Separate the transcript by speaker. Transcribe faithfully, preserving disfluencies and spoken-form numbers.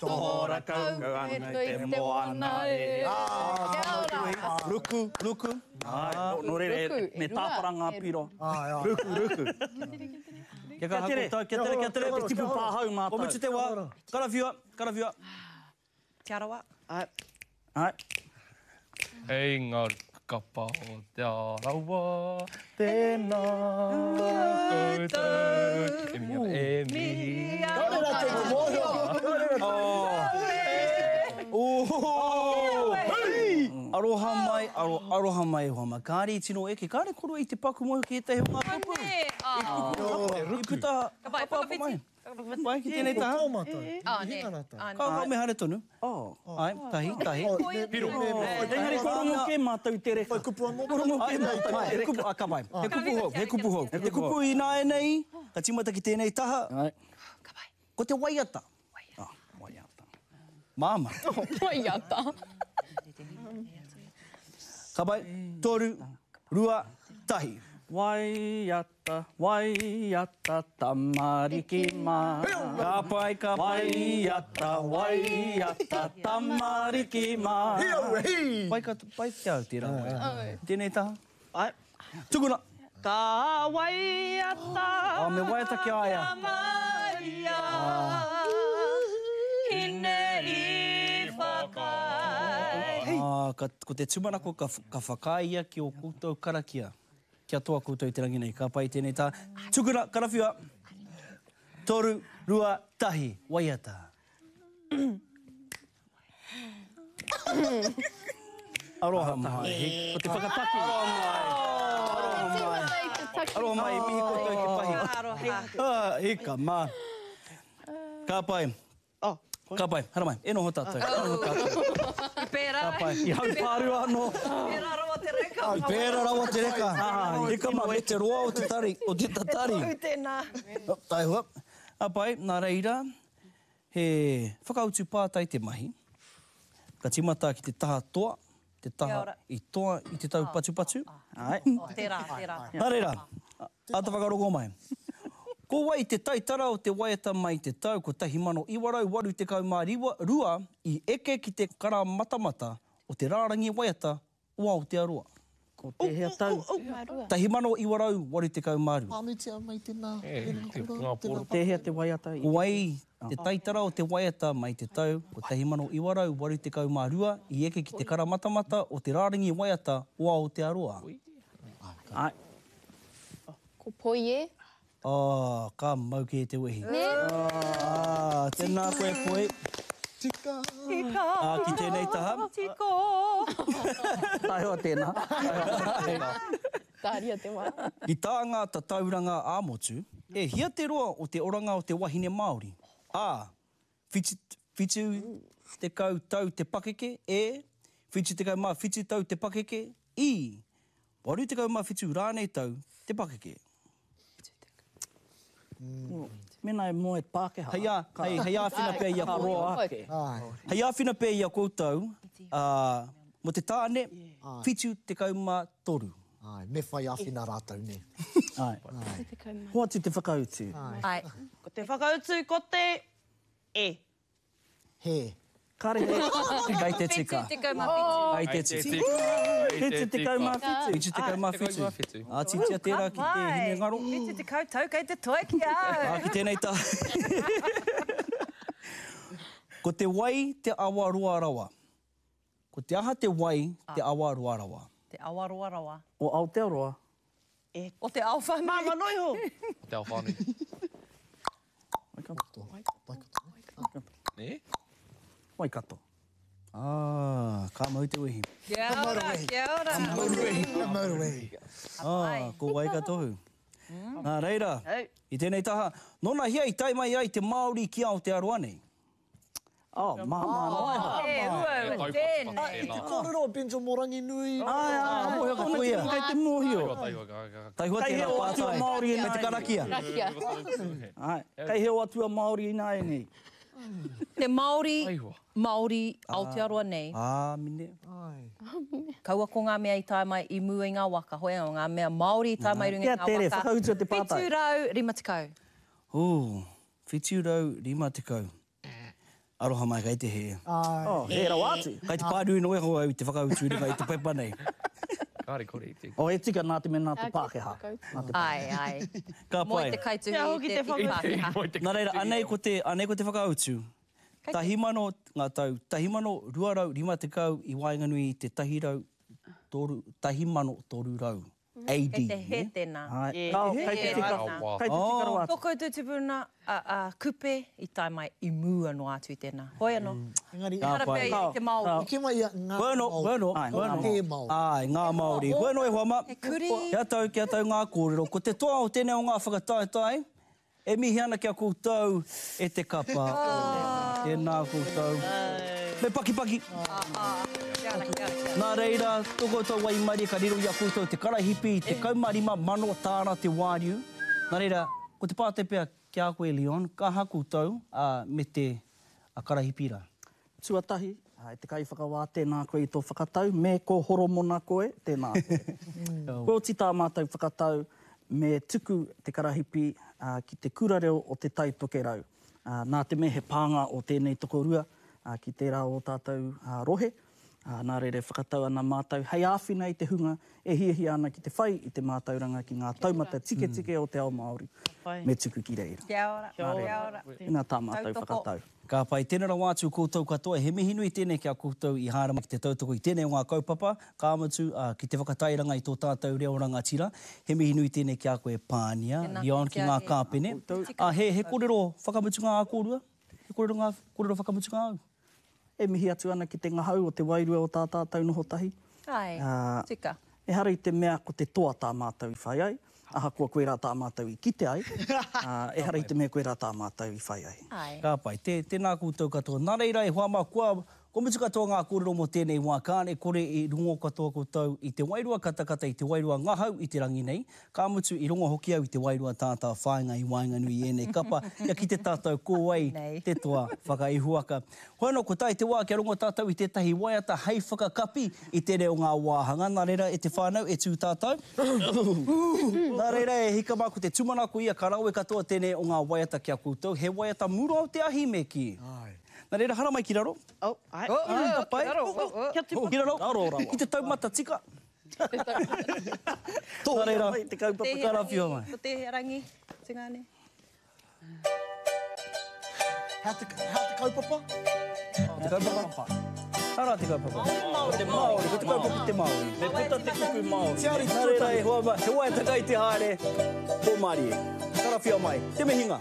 Speaker 1: Tohora kau ana i te moana e.
Speaker 2: Kia ora.
Speaker 1: Ruku, ruku. Ai, nō reira, me tāpara ngā piro. Ruku, ruku. Kia kaha koutou, kia tere, kia tere, te tipu pāhau mātou. Ko mutu te wā, karawhiua, karawhiua.
Speaker 3: Te Arawa.
Speaker 1: Ai. Ai.
Speaker 4: Hei ngā kapa o Te Arawa, tēnā koutou. E mihi ana, e mihi ana.
Speaker 5: Kāore rātou i te mōhio. Kāore rātou.
Speaker 1: Aroha mai, aro, aroha mai e hoa mā. Kāre i tino eke, kāre koroua i te paku mōhio ki ētahi o ngā kupu. I puta,
Speaker 3: Ka pai,
Speaker 1: hapa mai.
Speaker 3: whakawhiti.
Speaker 1: Pai, ki tēnei taha.
Speaker 5: Ko tō mātou.
Speaker 2: Ah,
Speaker 5: I
Speaker 2: nē.
Speaker 5: hinga rātou.
Speaker 2: Ah,
Speaker 1: Ka ka me haere tonu. Ai, tahi, tahi.
Speaker 4: Piro.
Speaker 6: Engari kua rongo kē mātou i te reka.
Speaker 5: Whai kupu anō.
Speaker 1: Kua rongo kē mātou i te reka. Kupu, ah, ka pai. He kupu hou, he kupu hou. Te kupu ināianei, ka tīmata ki tēnei taha.
Speaker 2: Ka pai.
Speaker 1: Ko te waiata. Ah, waiata. Māmā.
Speaker 2: Waiata.
Speaker 1: Ka pai, toru, rua, tahi.
Speaker 6: Waiata, waiata, tamariki mā.
Speaker 1: Ka pai, ka pai.
Speaker 6: Waiata, waiata, tamariki mā.
Speaker 1: Pai ka, pai ki au tērā waiata. Tēnei taha.
Speaker 3: Ai.
Speaker 1: Tukuna.
Speaker 3: Ka waiata.
Speaker 1: Ah, me waiata ki a ia.
Speaker 3: Maria. Hine i whakaae.
Speaker 1: Ah, ka, ko te tūmanako ka, ka whakaae ia ki o koutou karakia. Kia toa koutou i te rangi nei. Ka pai tēnei tā. Tukuna, karawhiua. Toru, rua, tahi. Waiata. Aroha mai.
Speaker 6: Ko te whakataki.
Speaker 1: Aroha mai. Aroha mai. Aroha mai, mihi koutou i te pahi.
Speaker 3: Aroha.
Speaker 1: Ah, ika mā. Ka pai. Ka pai, haramai. E noho tātou. E noho tātou.
Speaker 3: I pērā.
Speaker 1: Ka pai.
Speaker 6: I haupārua anō.
Speaker 3: Pērā rawa te reka.
Speaker 1: Pērā rawa te reka. Ika mā, me te roa o te tari, o te tatari.
Speaker 3: Te tohu tēnā.
Speaker 1: Oh, taihua. A pai, nā reira, he whakautu pātai te mahi. Ka tīmata ki te taha toa, te taha i toa i te tau patupatu.
Speaker 6: Ai.
Speaker 3: Oh, tērā, tērā.
Speaker 1: Nā reira, āta whakarongo mai. Ko wai te taitara o te waiata mai te tau kotahi mano iwa rau waru tekau mā rua i eke ki te karamatamata o te rārangi waiata o Aotearoa.
Speaker 6: Ko tēhea tau?
Speaker 1: Tahi mano iwa rau waru tekau mā rua.
Speaker 5: Pānuitia mai tēnā.
Speaker 4: E, te ngā poro.
Speaker 6: Tēhea te waiata i...
Speaker 1: Ko wai te taitara o te waiata mai te tau kotahi mano iwa rau waru tekau mā rua i eke ki te karamatamata o te rārangi waiata o Aotearoa.
Speaker 6: Ai.
Speaker 2: Ko poi e?
Speaker 1: Oh, ka mau kē te wehi.
Speaker 2: Nē?
Speaker 1: Ah, tēnā koe poi.
Speaker 5: Tika.
Speaker 3: Tika.
Speaker 1: Ah, ki tēnei taha.
Speaker 3: Tiko.
Speaker 6: Taihoa tēnā.
Speaker 2: Tāria te wā.
Speaker 1: I tā ngā tatauranga ā-motu, e hia te roa o te oranga o te wahine Māori? A, whitu, whitu tekau tau te pakeke, E, whitu tekau mā whitu tau te pakeke, I, waru tekau mā whitu rānei tau te pakeke.
Speaker 6: Mena e moe Pākehā.
Speaker 1: Hei ā, hei, hei āwhina pea i a
Speaker 6: Ka roa
Speaker 1: koutou.
Speaker 6: ake.
Speaker 1: Hei āwhina pea i a koutou, uh, mo te tāne, whitu tekau mā toru.
Speaker 5: Ai, me whai āwhina rātou, nē.
Speaker 1: Ai.
Speaker 6: Hoatu te whakautu.
Speaker 3: Ai. Ko te whakautu ko te E.
Speaker 5: He.
Speaker 6: Kāre he.
Speaker 1: Kei te tika.
Speaker 3: Whitu tekau mā whitu.
Speaker 1: Kei te tika.
Speaker 6: Whitu tekau mā whitu.
Speaker 1: Whitu tekau mā whitu.
Speaker 4: Whitu.
Speaker 1: Ātitia tērā ki te hinengaro.
Speaker 3: Whitu tekau tau kei te toe ki au.
Speaker 1: Ā, ki tēnei tā. Ko te wai te awa roa rawa. Ko te aha te wai te awa roa rawa.
Speaker 3: Te awa roa rawa.
Speaker 6: O Aotearoa.
Speaker 3: E. O te ao whānui. Māma noiho.
Speaker 4: O te ao whānui.
Speaker 5: Waikato. Waikato.
Speaker 4: Nē?
Speaker 6: Waikato.
Speaker 1: Ah, ka mau te wehi.
Speaker 3: Kia ora, kia ora.
Speaker 5: Ka mau te wehi. Ka mau te wehi.
Speaker 1: Ah, ko Waikatohu. Nā reira, i tēnei taha, nōna hia i tae mai ai te Māori ki Aotearoa nei?
Speaker 6: Oh, māmā noa iho.
Speaker 3: E, uau, tēnei.
Speaker 5: I te kōrero o Benjo Moranginui.
Speaker 1: Ai, ai, mōhio ka koia.
Speaker 6: Kei te mōhio.
Speaker 1: Taihua
Speaker 6: Kei
Speaker 1: tērā
Speaker 6: heo atua
Speaker 1: pātai.
Speaker 6: Māori
Speaker 1: Me te karakia.
Speaker 2: Karakia.
Speaker 6: Ai, kei heo atua Māori ināianei.
Speaker 3: Te Māori,
Speaker 4: Taihua.
Speaker 3: Māori Aotearoa nei.
Speaker 1: Āmine.
Speaker 3: Kaua ko ngā mea i tae mai i mua i ngā waka, hoi anō, ngā mea Māori i tae mai i runga i
Speaker 6: Kia
Speaker 3: ngā
Speaker 6: tere,
Speaker 3: waka.
Speaker 6: whakautua te pātai.
Speaker 3: Whitu rau rima tekau.
Speaker 1: Ū, whitu rau rima tekau. Aroha mai kei te hē.
Speaker 5: Ai.
Speaker 6: Oh, he rawa atu.
Speaker 1: Kei te pānui noa iho au i te whakautu i runga i te pepa nei.
Speaker 4: Kāre kore i te.
Speaker 6: Oh, e tika nā te mea nā te
Speaker 2: Ā,
Speaker 6: Pākehā.
Speaker 2: whakautu.
Speaker 6: Nā te
Speaker 3: Ai, ai.
Speaker 1: Ka
Speaker 3: Moi
Speaker 1: pai.
Speaker 3: te kaituhi
Speaker 7: Kia hoki
Speaker 3: i
Speaker 7: te
Speaker 3: te
Speaker 7: whakautu.
Speaker 3: Pākehā.
Speaker 1: Nā reira, anei ko te, anei ko te whakautu. Tahi mano, ngā tau, tahi mano rua rau rima tekau i waenganui i te tahi rau toru, tahi mano toru rau. A D.
Speaker 3: Kei te hē
Speaker 1: ne?
Speaker 3: tēnā.
Speaker 6: Ai.
Speaker 7: Yeah.
Speaker 6: Kao, kei te tika.
Speaker 4: Oh,
Speaker 6: Kei te tika rawa atu.
Speaker 3: Tō koutou tupuna a, a Kupe i tae mai i mua noa atu i tēnā. Hoi anō.
Speaker 5: Engari,
Speaker 1: Ka
Speaker 3: Ehara
Speaker 1: pai.
Speaker 3: pea i te Māori.
Speaker 5: i ke mai ia ngā
Speaker 1: Bueno,
Speaker 5: Māori.
Speaker 1: bueno,
Speaker 6: Ai,
Speaker 1: bueno.
Speaker 5: Te Māori.
Speaker 1: Ai, ngā Māori. Bueno e hoa ma.
Speaker 3: He kuri.
Speaker 1: Kia tau, kia tau ngā kōrero. Ko te toa o tēnei o ngā whakataetae, e mihi ana kia koutou e te kapa. Tēnā koutou. Me pakipaki.
Speaker 3: Kia ora, kia ora, kia ora.
Speaker 1: Nā reira, tō koutou waimarie ka riro i a koutou te karahipi, te kaumārima mano tāra te wāriu. Nā reira, ko te pātai pea ki a koe, Leon, ka aha koutou uh, me te a karahipi rā?
Speaker 6: Tuatahi, ai, te kaiwhakawā, tēnā koe i tō whakatau, me ko horomona koe, tēnā koe. Kua oti tā mātou whakatau, me tuku te karahipi uh, ki te kura reo o te Tai Tokerau. Uh, nā te mea he pānga o tēnei tokorua uh, ki tērā o tātou uh, rohe. Uh, nā reira e whakatau ana mātou hei āwhina i te hunga e hiahia ana ki te whai i te mātauranga ki ngā taumata tiketike o te ao Māori. Me tuku ki reira.
Speaker 3: Kia ora, kia ora.
Speaker 6: Tēnā tā mātou
Speaker 3: Tautoko.
Speaker 6: whakatau.
Speaker 1: Ka pai, tēnā rawa atu koutou katoa, he mihi nui tēnei ki a koutou i haere mai ki te tautoko i tēnei o ngā kaupapa, ka mutu uh, ki te whakatairanga i tō tātou reo rangatira. He mihi nui tēnei ki a koe Pānia,
Speaker 3: Tēnā
Speaker 1: Leon ki ngā
Speaker 3: koe.
Speaker 1: kāpene. Ah, he, he kōrero whakamutunga a kōrua? He kōrero, ngā, kōrero whakamutunga au?
Speaker 6: E mihi atu ana ki te ngahau o te wairua o tā tātou noho tahi.
Speaker 3: Ai,
Speaker 6: Ā,
Speaker 3: tika.
Speaker 6: Ehara i te mea ko te toa tā mātou i whai ai, ahakoa koe rā tā mātou i kite ai, ā, ehara i te mea koe rā tā mātou i whai ai.
Speaker 3: Ai.
Speaker 1: Ka pai, tē, tēnā koutou katoa. Nā reira e hoa mā, kua, kua mutu katoa ngā kōrero mō tēnei wā, kāne kore i rongo katoa koutou i te wairua katakata, i te wairua ngahau i te rangi nei, ka mutu i rongo hoki au i te wairua tātā whāinga i waenganui i ēnei kapa, kia ki te tātou ko wai
Speaker 3: Nei.
Speaker 1: te toa whakaihuaka. Hoi anō, ko tae te wā kia rongo tātou i tētahi waiata hei whakakapi i te reo ngā wāhanga. Nā reira e te whānau e tū tātou. Nā reira e hika mā ko te tūmanako ia ka rawe katoa tēnei o ngā waiata ki a koutou. He waiata mura o te ahi me ki. Nā reira, haramai ki raro.
Speaker 7: Oh, ai.
Speaker 1: Oh, ka pai.
Speaker 7: Kia tupu.
Speaker 1: Ki raro.
Speaker 6: Raro rawa.
Speaker 1: Ki te taumata tika. Nā reira,
Speaker 6: Mai te kaupapa.
Speaker 3: Tēhea
Speaker 1: karawhiua
Speaker 3: rangi,
Speaker 1: mai.
Speaker 3: Ko tēhea rangi, tingane.
Speaker 5: Hea te, hea te kaupapa?
Speaker 1: Te kaupapa. Hara te kaupapa. Ko te Māori, ko te kaupapa te Māori.
Speaker 6: Me puta te kupu Māori.
Speaker 5: Tiari
Speaker 1: Nā reira e hoa mai, he waiata kai te haere, pō mārie. Karawhiua mai, te mihinga.